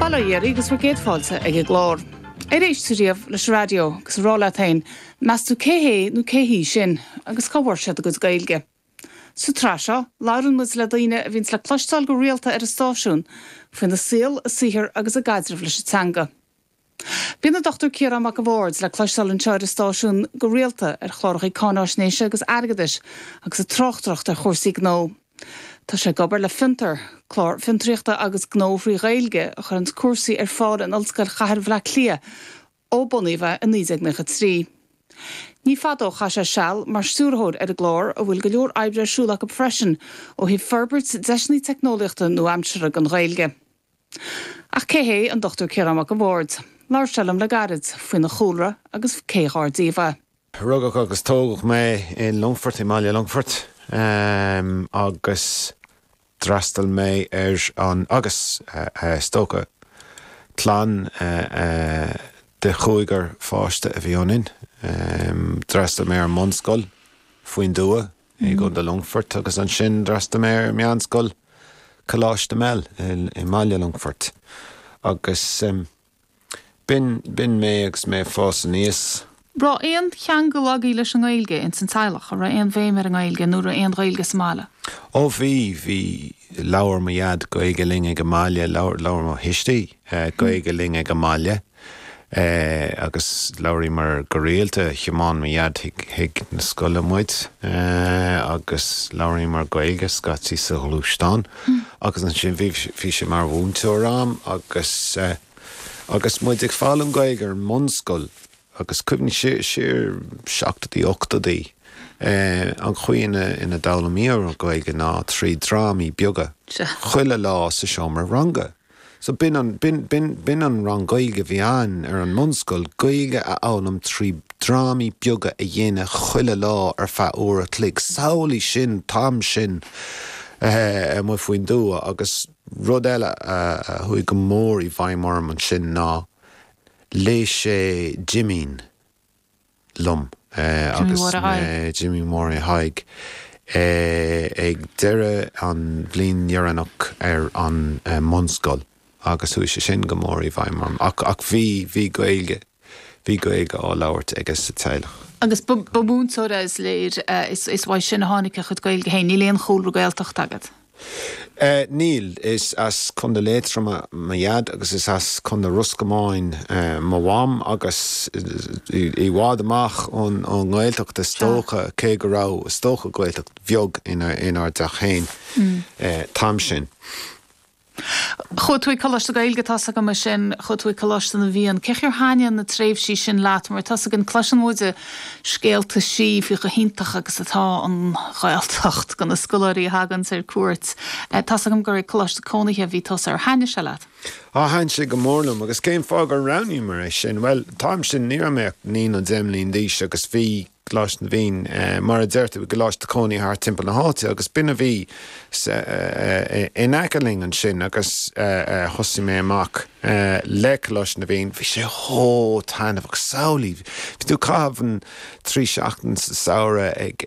Bail ó Dhia oraibh agus bhur gcéad fáilte ag an gclár. Ar éist tú riamh leis an raidió agus ag rá leat féin, meas tú cé hé nó cé hí sin agus cá bhfuair siad a gcuid Gaeilge? Sa tsraith seo, labhrann muid le daoine a bhíonns le cloisteáil go rialta ar an stáisiún faoina saol, a saothar agus a gcaidreamh leis an teanga. Bíonn an Dr Ciarán Mac a' Bhaird le cloisteáil anseo ar an stáisiún go rialta ar chláracha cáináisnéise agus airgeadais agus ag tráchtaireacht ar chúrsaí gnó. Tá sé ag obair le Fiontar, clár fiontraíochta agus gnó thrí Ghaeilge a chuireanns cúrsaí ar fáil in Ollscoil Chathair Bhaile Átha Cliath ó bunaíodh é i 1993. Ní fada ó chaith sé seal mar stiúrthóir ar an gclár a bhfuil go leor oibre ar siúl acu freisin ó thaobh forbairt deiseanna teicneolaíochta nua-aimseartha don Ghaeilge. Ach cé hé an Dr Ciarán Mac a' Bhaird? Labhair sé liom le gairid faoina chúlra agus cé dhár díobh é. Rugadh agus tógadh mé i Longfort, i mbaile Longfoirt, agus d'fhreastail mé ar an, agus is dócha, clann de chúigear pháiste a bhí ionainn. D'fhreastail mé ar an mbunscoil faoin dtuath. i gContae Longfoirt agus ansin d'fhreastail mé ar Meánscoil Coláiste Mell i mbaile Longfoirt agus b'in, b'in mé agus mé ag fás aníos. Raibh aon cheangal agaibh leis an nGaeilge ins an teaghlach? An raibh aon bhéim ar an nGaeilge nó raibh aon Ghaeilge sa mbaile? Ó bhí, bhí, labhair mo dhaid Gaeilge linn ag an mbaile, labhair, labhair mo thuistí Gaeilge linn ag an mbaile. Agus labhraíomar go rialta, thiomáin mo dhaid chuig na scoile muid agus labhraíomar Gaeilge scaití sa ghluaisteán. Agus ansin bhí bhí sé mar mhúinteoir a'm agus agus muid ag foghlaim Gaeilge ar an mbunscoil agus cuimhnigh siar siar seachtóidí ochtóidí an chaoi ina ina d'fhoghlaimíomar Gaeilge ná trí drámaí beaga chuile lá sa seomra ranga. So b'in an, b'in, b'in, b'in an rang Gaeilge a bhí a'ainn ar an mbunscoil, Gaeilge a fhoghlaim trí drámaí beaga a dhéanamh chuile lá ar feadh uair a chloig. Samhlaigh sin, an t-am sin amuigh faoin dtuath agus rud eile a chuaigh go mór i bhfeidhm orm ansin ná léigh sé Jimín. liom agus mé, Jimí Mháire Thaidhg, ag deireadh an bhliain dheireanach ar an mbunscoil agus chuaigh sé sin go mór i bhfeidhm orm. Ach, ach bhí, bhí Gaeilge, bhí Gaeilge á labhairt aige sa teaghlach. Agus ba, ba mhúinteoir é is léir, is, is uaidh sin a tháinig a chuid Gaeilge féin. Níl aon chúlra Gaeltachta agat? Níl. Is as Contae Liatroma mo dhaid agus is as Contae Ros Comáin mo mham agus i bhfad amach ón nGaeltacht is dócha, cé go raibh, is dócha, Gaeltacht bheag inár dteach féin t-am sin. Chuaigh tú ag Coláiste Gaeilge, tá's agam ansin, chuaigh tú ag Coláiste na bhFiann. Cén chaoi ar thaitnigh na tréimhsí sin leat? Mar tá's againn, cloiseann muid scéalta sí faoi chomh hiontach agus atá an Ghaeltacht do na scoláirí a thaganns ar cuairt. Tá's agam gur ag coláiste cónaithe a bhí tusa, ar thaitnigh sé leat? Á, thaitnigh sé go mór liom agus cén fáth gur roghnaíomar é sin? Bhuel, an t-am sin ní raibh mé ach 9 nó 10 mbliain d'aois agus bhí Coláiste na bhFiann, mar a deir tú, i gcoláiste cónaithe thart timpeall na háite agus b'in a bhí in aice linn ansin agus thosaigh mé amach le Coláiste na bhFiann, bhí sé chomh taitneamhach. Samhlaigh, bhí tú ag caitheamh an 3 seachtain sa samhradh ag.